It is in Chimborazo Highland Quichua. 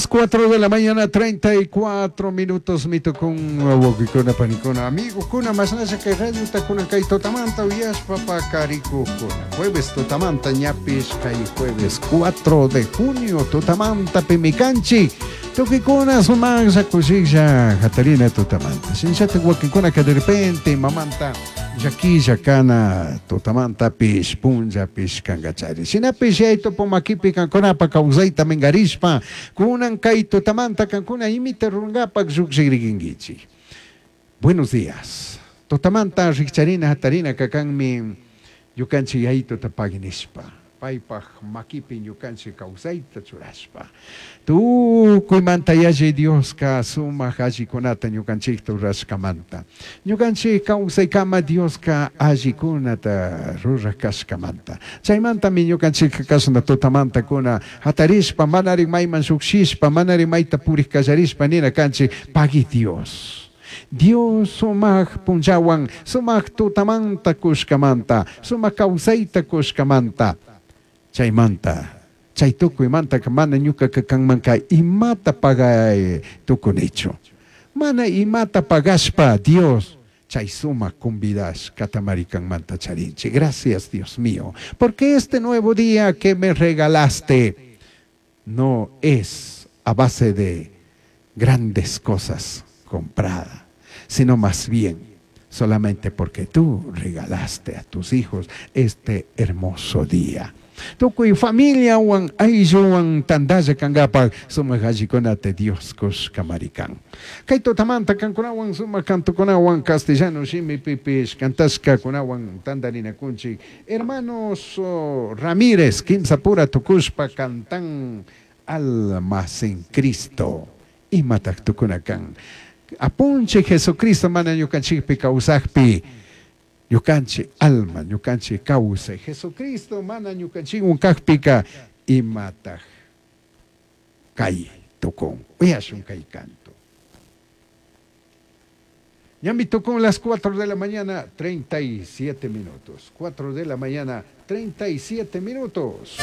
Las 4 de la mañana, 34 minutos, mitukun wawqikuna, panikuna, amigokuna, mashnalla kay radiota kunan kay tutamanta uyashpa pakarikukuna. Jueves tutamanta ñapish kay jueves 4 de junio tutamanta pimi kanchik. Tukikuna sumaqlla kushiklla hatarina tutamanta. Shinallatak wakinkunaka de repente imamanta llaquilla kana tutamantapish punllapish kankachari. Shinapish Yayitupa makipi kankunapa kawsayta minkarishpa kunan kay tutamanta kankuna imita rurankapak llukshikrikinkichik. Buenos días. Tutamanta rikcharina hatarina kakanmi ñukanchik Yayituta pagui nishpa, paypak makipi ñukanchik kawsayta churashpa. Tukuymanta yalli Dioska sumak allikunata ñukanchikta rurashkamanta. Ñukanchik kawsaykama Dioska allikunata ruraj kashkamanta. Chaymantami ñukanchikka kashna tutamanta kuna hatarishpa, manari mayman llukshishpa, manari mayta purik kallarishpa nina kanchik, pagui Dios. Dios sumak punllawan, sumak tutamanta kushkamanta, sumak kawsayta kushkamanta. Chaymanta, chay tukuymantaka mana ñukaka kanmanka imata pagay tukunichu. Mana imata pagashpa Dios chay sumak convidashkatamari kanmanta charinchik. Gracias, Dios mío, porque este nuevo día que me regalaste no es a base de grandes cosas comprada, sino más bien solamente porque tú regalaste a tus hijos este hermoso día. Tukuy familiawan aylluwan tantalla kankapak sumak allikunata Dios kushkamari kan. Kay tutamanta kankunawan sumak cantokunawan castellano shimipipish kantashkakunawan tantarinakunchik. Hermanos Ramírez kimsa pura tukushpa cantan Almas en Cristo. Imatak tukuna kan. Apunchik Jesucristo mana ñukanchikpi kawsakpi ñukanchik alma, ñukanchik kawsay. Jesucristo mana ñukanchikwan kakpika imatak kay tukun. Uyashun kay canto. Ñami tukun las 4 de la mañana, 37 minutos. 4 de la mañana, 37 minutos.